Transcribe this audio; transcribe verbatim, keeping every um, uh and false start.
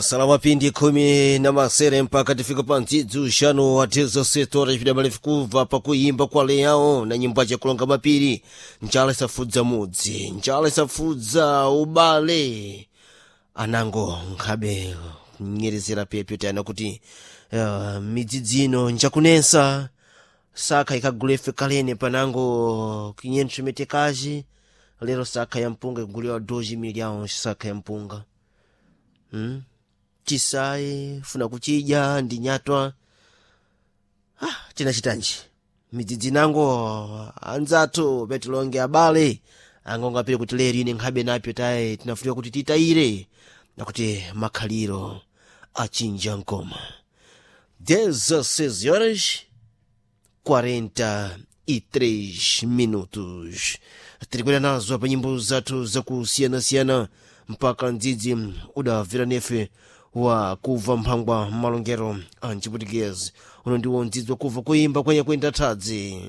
Salama pindi khumi na masere mpaka tifika pa ndzidzi uxanu wa dezesete horas vidamalefu kubva pakuimba kwa leão na nyimbo acakulonga mapiri. Njala isafudza mudzi, njala isafudza ubale, anango nkhabe kunyerezera pepyo tayana kuti uh, midzidzi ino njakunensa saka ikagulefe kalene panango quinhentos metekaji. Lero saka ya mpunga iguliwa dois milhões saka ya mpunga, hmm? Chisayi funa kuchidya ndi nyatwa. Ah, tinachitanji midzidzi nango anzathu petilonge abale angongo apire kuti lero ine nkhabe napyo tayi tinafunika kuti titayire nakuti makhaliro achinja nkoma. dezesseis horas quarenta e três minutos tirikwera nazo pa nyimbo zathu zakusiyanasiyana mpaka mdzidzi udavira nefe wa kubva mphangwa malongero a mchiputikezi. Uno ndiwo mdzidzi wakuva kuimba kwenye kuenda thadzi.